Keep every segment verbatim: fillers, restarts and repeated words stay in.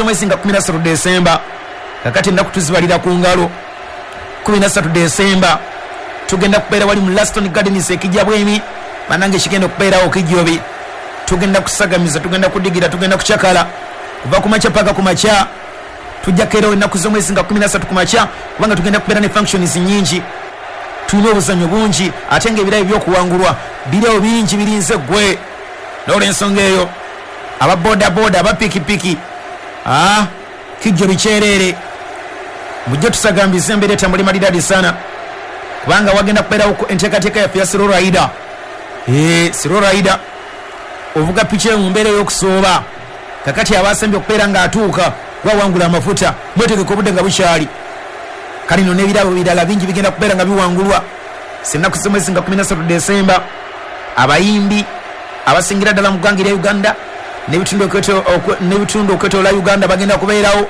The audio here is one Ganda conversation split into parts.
z'omwezi nga kumi na ssatu Desemba. Kakati ennaku tuzibalira ku ngalo. Kumi na ssatu Desemba tugenda kubeera wali mu Laston Gardens ekijja bwemi. Banange kigenda okubeerawo kijjobi. Tugenda kusagamiza, tugenda kudigira, tugenda kucakala kuva ku makya paka ku makya. Tujja keerawo ennaku z'omwezi nga kumi na ssatu ku makya, kubanga tugenda kubeera ne functions nnyingi, tulina obuzannyo bungi, ate ng'ebirabo by'okuwangulwa biriwo bingi birinze ggwe. N'olwensonga eyo aba bodaboda, aba pikipiki, ah, kijjo bikyerere, mujje tusagambize embeera etambule malidadi sana, kubanga wagenda kubeerawo enteekateeka yaffe ya Slow Rider. Eh, Slow Rider ovuga piki mu mbeera ey'okusooba. Kakati abasembye okubeera ng'atuuka wawangula amafuta, mwetegeke obudde nga bukyali. Kale nno n'ebirabo birala bingi bigenda kubeera nga biwangulwa ennaku z'omwezi nga kumi na ssatu Desemba. Abayimbi abasingira ddala mu ggwanga erya Uganda n'ebitundu okwetoola Uganda bagenda kubeerawo.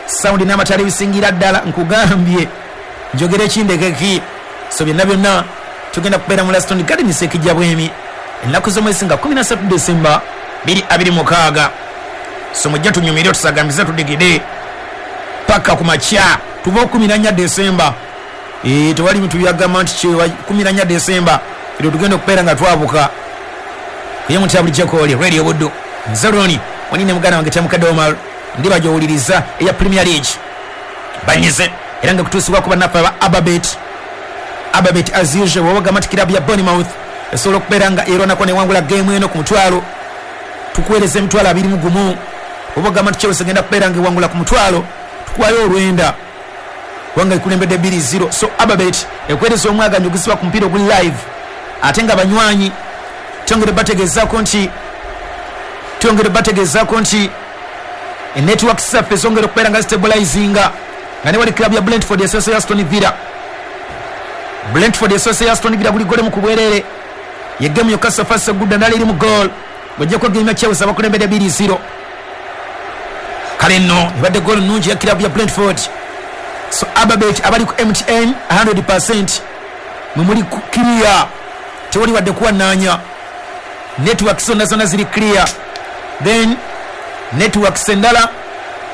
Sound n'amataala ebisingira ddala, nkugambye njogera ekindekeki. So byonna byonna tugenda kubeera mu Laston Gardens ekijja bwemi ennaku z'omwezi nga kumi na ssatu Desemba bbiri abiri mukaaga. So mujja tunyumire, tusagambize, tudigide paka ku makya. Tuva kumi na nnya Desemba. Eh, tewali bintu byagamba nti kumi na nnya Desemba eryo tugenda okubeera nga twabuka. Ye muti bulijjo kooli Radio Buddu, nze Roni wani ne muganda wange Kyamukadde Omar, ndiba gy'owuliriza eya Premier League banyize era nga kutuusibwa ku bannaffe aba Ababet. Ababet as usual bw'obagamba nti kirabu ya Bournemouth esobola okubeera nga erwanako newangula geemu eno ku mutwalo, tukuweereza emitwalo abiri mu gumu. Oba ogamba nti Chelsea egenda kubeera nga ewangula ku mutwalo, tukuwayo olwenda kubanga ekulembedde bbiri zero. So Ababet ekuweereza omwaganyi ogusiba ku mupiira oguli live, ate nga banywanyi twongere bategeezaako nti twongere bategeezaako nti enetworks zaffe zongera okubeera nga zistabilizinga, nga ne wali club ya Brentford esoose ya Aston Villa. Brentford esoose ya Aston Villa buli gole mu kubwerere, ye game yokka so far so good, ndala eri mu goal ng'oggyeko game ya Chelsea abakulembedde bbiri zero. Kale nno ebadde goal nnungi ya club ya Brentford. So Ababet abali ku M T N one hundred percent mwe muli clear, tewali wadde kuwannaanya, networks zonna zonna ziri clear. Then networks endala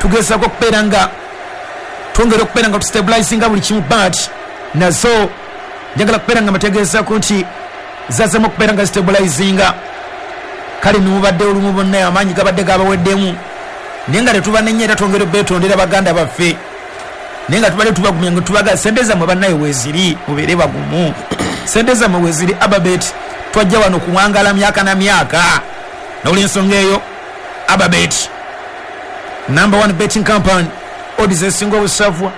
tugezaako okubeera nga twongera okubeera nga tustabilizinga buli kimu, but nazo njagala kubeera nga mbategeezaako nti zazzemu okubeera nga zistabilizinga. Kale nimubadde olumu bonna amaanyi gabadde gabaweddemu, naye nga tetubanenya era twongera obeetondera baganda baffe, naye nga tubadde tubagumya nga tubaga sente zammwe bannaye weeziri, mubeere bagumu, sente zammwe weeziri. Ababet twajja wano kuwangala myaka na myaka. N'olwensonga eyo Ababet number one betting company, odds esinga obusavwa,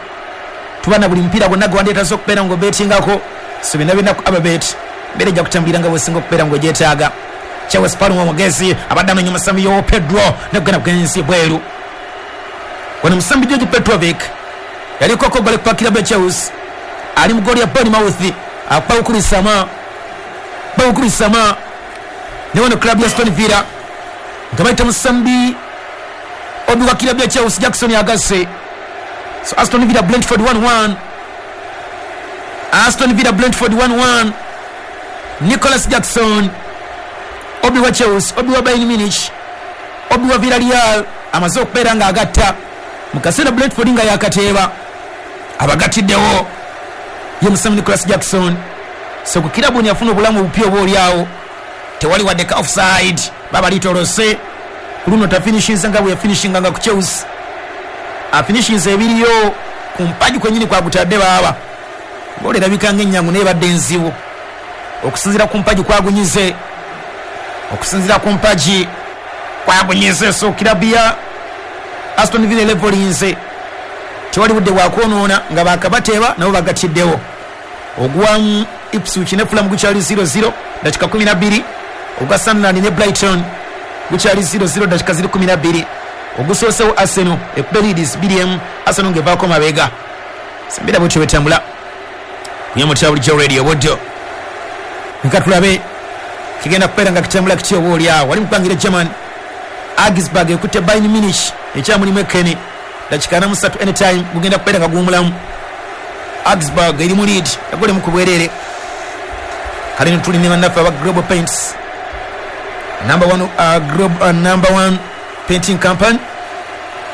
tuba na buli mupiira gwonna gwandeetaza okubeera ng'obetingako. So byonna byonna ku Ababet mbeera ejja kutambulira nga bwesinga okubeera ng'ogyetaaga. Charles Palmer omugezi abadde amenya omusambi yo Pedro nekugenda kugenzi bweru. Wano musambi George Petrovic yaliko ko gole kwa kilabu ya Chelsea, ali mu goli ya Bournemouth akuba kulisama bakulisama ne wano club ya Aston Villa nga bayita musambi obi wa kilabu ya Chelsea Jackson Agase. So Aston Villa Brentford one one, Aston Villa Brentford one one. Nicholas Jackson obi wa Chelsea, obi wa Bayern Munich, obi wa Villarreal amaze okubeera nga agatta mu kaseera Brentford nga yakateeba abagatiddewo ye musambi Nicholas Jackson. So ku kirabu yafuna obulamu obupya oba oliawo, tewali wadde ka offside, baba litolose ku luno tafinishinze nga bwe yafinishinga nga ku Chelsea, afinishinze ebiriyo ku mpagi kwennyini kwagutadde baaba goal erabika ng'ennyangu naye ebadde enzibu okusinziira ku mpagi kwagunyize, okusinziira ku mpagi kwagunyize. So kirabu ya Aston Villa levelinze, tewali budde bwakwonoona nga bakabateeba nabo bagatiddewo. Ogwa Ipswich ne Fulham gukyali zero zero dakika kumi na bbiri, ogwa Sunderland ne Brighton gukyali zero zero dakika ziri kumi na bbiri. Ogusoosewo Arsenal ekuba Leeds bbiri emu, Arsenal ng'evaako mabega. Sembera bwetyo bwetambula kunyamutya bulijjo Radio Buddo. Nka tulabe kigenda kubeera nga kitambula kitya oba oliawo. Wali mu ggwanga German, Augsburg ekutte Bayern Munich ekyamulimu ekkene dakika ana mu ssatu, anytime gugenda kubeera nga guwumulamu. Augsburg eri mu lead egolemu ku bwereere. Kale tuli ne bannaffe aba Global Paints, number one, uh, global, uh, number one painting company.